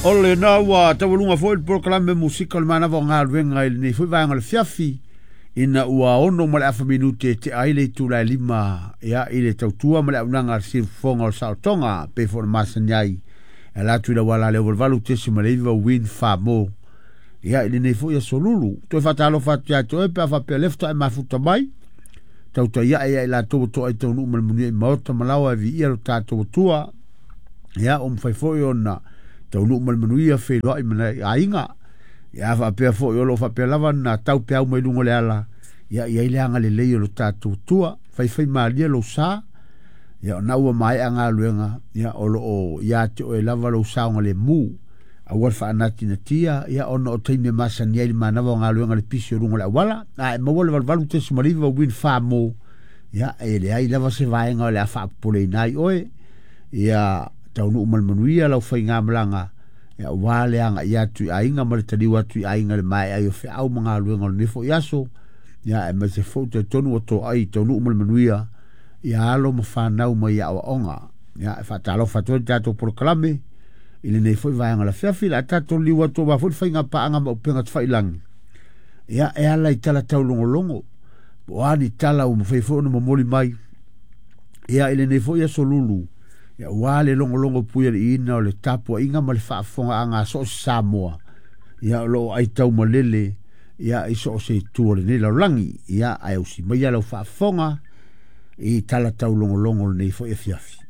O lena ua taualuga foi le polokalame musika o le manava o galuega i lenei foi vaega o le fiafi ina ua 6:30 minute e tea ai le itula e 5 ia, i le tautua ma le auaunaga a le siufofoga o le saolotoga pei foi ona masani ai e ala atu i le auala lea 88.9 Win Famo ia, i lenei foi aso lulu. Toe faatalofa atu ia te oe pe a faapea lea faatoa e mafuta mai tautai ae ia i latou ua toai taunuu ma le manuia i maota ma laoa e viia lo tatou Atua. Ia, ua mafai foi ona taunuu ma le manuia feiloai ma nai aiga. Ia, faapea foi o lo o faapea lava na tau peau mai luga o le ala, ia i ai le agalelei o lo tatou Atua. Faifai malie lou sa, ia ona ua maea galuega, ia o lo o ia te oe lava lou saogalemu. Aua le faanatinatia, ia ona o taimi e masani ai le manava o galuega le pisi o luga o le auala. A e maua le 88.9 Win Famo, ia e leai lava se vaega o le a faapopoleina ai oe. Ia taunuu ma le manuia lau faigamalaga, ia ua le agai atu i aiga ma le taliu atu i aiga le maea ai o feau ma galuega o lenei foi aso. Ia aemaise foi talitonu ua toai taunuu ma le manuia ia alo ma fanau mai aoaoga. Ia e faatalofa atu ai le tatou polokalame i lenei foi vaega o le afiafi. Le a tatou liu atu aua foi le faiga paaga ma upega tafailagi. Ia e ala i tala taulogologo po o a ni tala ua mafai foi ona momoli mai ia i lenei foi aso lulu, ia ua le logologo puialiiina o le tapuaiga ma le faafofogaaga a so o se Samoa ia o lo o aitau malele ia i so o se itu o lenei lalolagi. Ia ae usi maia lau faafofoga i tala taulogologo o lenei foi afiafi.